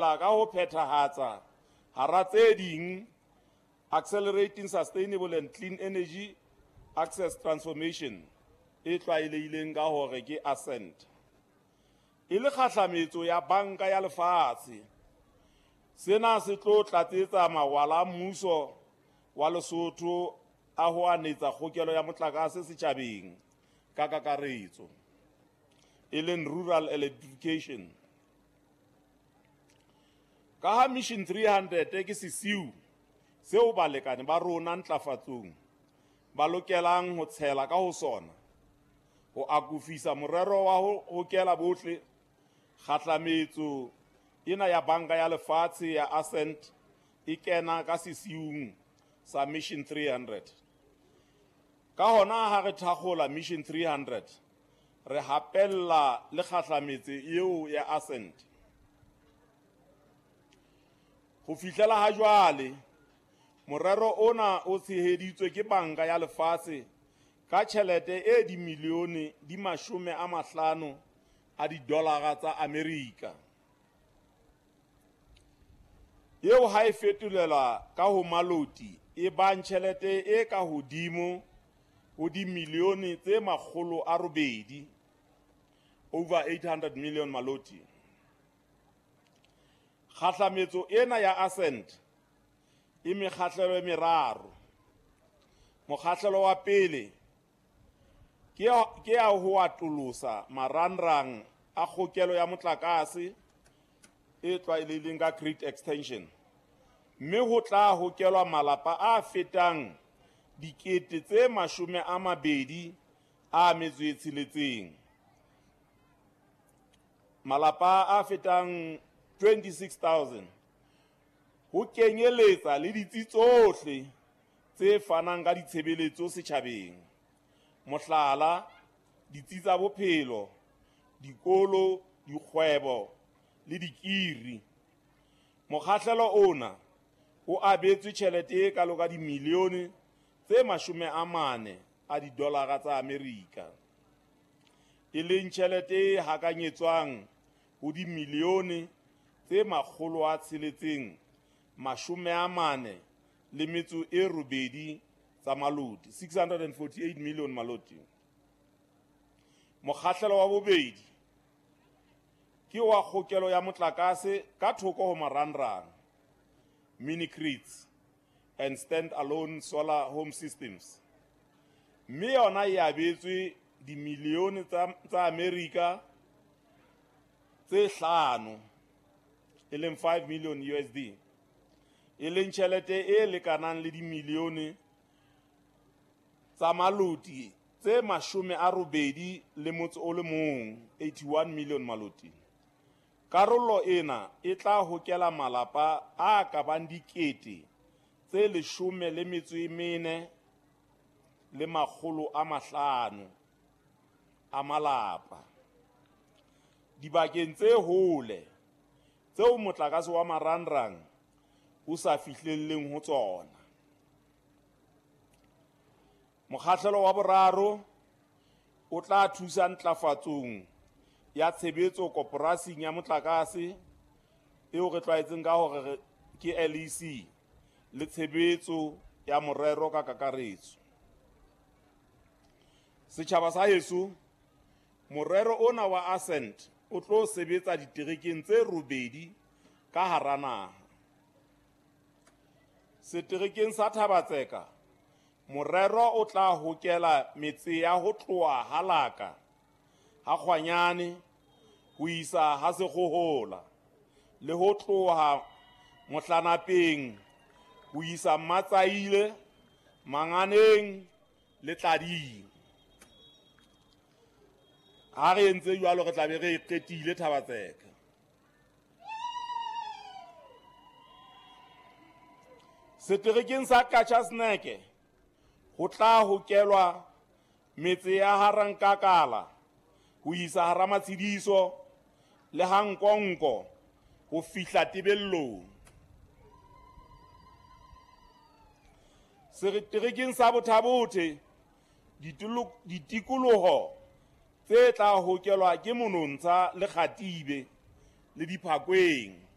Ka ho phethahatsa hara tse ding Accelerating Sustainable and Clean Energy Access Transformation e tlwaelehileng ka hore ke ASCENT. E le kgahlametso ya Banka ya Lefatshe, sena se tlo tlatsetsa mawala a mmuso wa Lesotho a ho anetsa kgokelo ya motlakase setjhabeng ka kakaretso, e leng rural electrification. Ka ha Mission 300 ke sesiu seo balekane ba rona ntlafatsong ba lokelang ho tshela ka ho sona ho akofisa morero wa ho hokela bohle, kgahlametso ena ya Banka ya Lefatshe ya ASCENT e kena ka sesiung sa Mission 300. Ka hona ha re thakgola Mission 300, re hapella le kgahlametso eo ya ASCENT. Ho fihlela ha jwale, morero ona o tsheheditswe ke Banka ya Lefatshe ka tjhelete e dimilione di 50 a didolara tsa Amerika, eo ha e fetolelwa ka ho maloti e bang tjhelete e ka hodimo ho dimilione tse 800, over 800 million maloti. Kgahlametso ena ya ASCENT e mekgahlelo e meraro. Mokgahlelo wa pele ke ya ho atolosa marangrang a kgokelo ya motlakase e tlwaelehileng ka grid extension, mme ho tla hokelwa malapa a fetang 26,000, malapa a fetang 26,000, ho kenyeletsa le ditsi tsohle tse fanang ka ditshebeletso setjhabeng, mohlala, ditsi tsa bophelo, dikolo, dikgwebo le dikiri. Mokgahlelo ona o abetswe tjhelete e kalo ka dimilione tse 40 a didolara tsa Amerika, e leng tjhelete e hakanyetswang ho dimilione tse 648 tsa maloti, 648 million maloti. Mokgahlelo wa bobedi ke wa kgokelo ya motlakase ka thoko ho marangrang, mini grids and stand-alone solar home systems, mme yona e abetswe dimilione tsa Amerika tse 5, e leng 5 million USD, e leng tjhelete e lekanang le dimilione tsa maloti tse 81, 81 million maloti. Karolo ena e tla hokela malapa a ka bang 14,500 a malapa dibakeng tse hole tseo motlakase wa marangrang o sa fihlelleng ho tsona. Mokgahlelo wa boraro o tla thusa ntlafatsong ya tshebetso koporasing ya motlakase eo re tlwaetseng ka hore ke LEC le tshebetso ya morero ka kakaretso. Setjhaba sa heso, morero ona wa ASCENT o tlo sebetsa diterekeng tse 8 ka hara naha. Seterekeng sa Thaba-Tseka, morero o tla hokela metse ya ho tloha Halaka, ha Kgwanyane, ho isa ha Sekgohola, le ho tloha Mohlanapeng ho isa Matsaile, Manganeng le Tlading. Ha re entse jwalo re tla be re qetile Thaba-Tseka. Seterekeng sa Qacha's Nek ho tla hokelwa metse ya Harankakala ho isa hara Matshidiso le Hankonko ho fihla Tebellong. Seterekeng sa Botha-Bothe ditikoloho tse tla hokelwa ke Monontsha le Kgatibe le Diphakweng.